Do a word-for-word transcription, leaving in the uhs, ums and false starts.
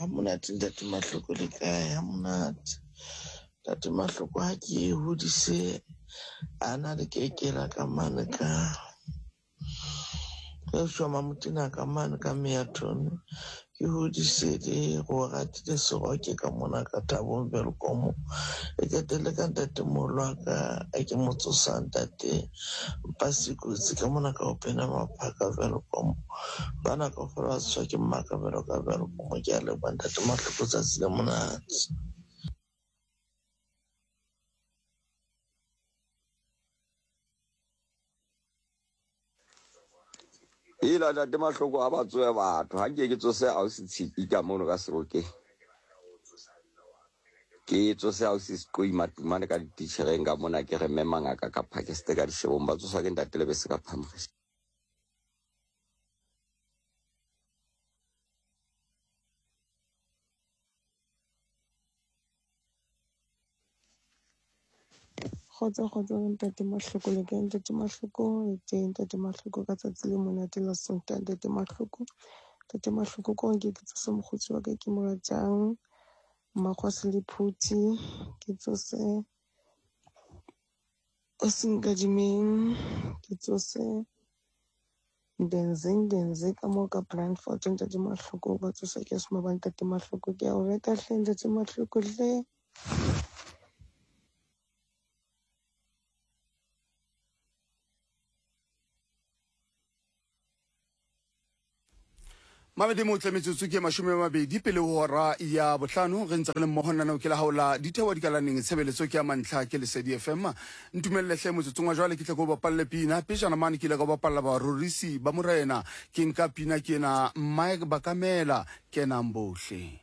Ha monate ntate Mahloko le kae? Ha monate. Ntate Mahloko ha ke e hodise a na le kekela ka mane ka re shoma motina ka mane ka Meaton. Ke hodise le go ratile seroke ka mona ka Thabong Welkom. E qetelle ka ntatemoholo wa ka a ke mo tsosa ntate Mpasikotsi ka mona ka opena maphaka Welkom. Bana kaofela ba tsoswa ke mmaka jwalo ka Welkom. Ke a leboha ntate Mahloko tsatsi le monate. Ela ntate Mahloko ha ba tsohe batho ha nke ke tsose ausi Tshipi ka mono ka Serokeng. Ke tsose ausi Seqoi Matumane ka dititjhereng ka mona ke re mme mangaka ka Pakiste ka dishebong ba tsoswa ke ntate Lebese ka Phamokgesi. Kgotso kgotso ntate Mahloko le kae ntate Mahloko le teng ntate Mahloko ka tsatsi le monate la Sontaha ntate Mahloko. Ntate Mahloko ko nke ke tsose mokgotsi wa ka ke mo ratang Mmakgosi le Phuthi ke tsose o Senkadimeng ke tsose Ndenze Ndenze ka moo ka Brandfort ntate Mahloko ba tsosa ke soma ba ntate Mahloko ke a o rata hle ntate Mahloko hle. Mabedi motle metsotso ke mashome a mabedi pele ho hora ya bohlano re ntse re le mmoho nanao ke la hao la ditheo dikalaneng tshebeletso ke ya mantlha ke Lesedi F M. Ntumelle hle motsotsong wa jwale ke tle ke o bapalle pina pejana mane ke ile ka o bapalla barorisi ba morena ke nka pina ke ena Mike Bakamela kenang bohle.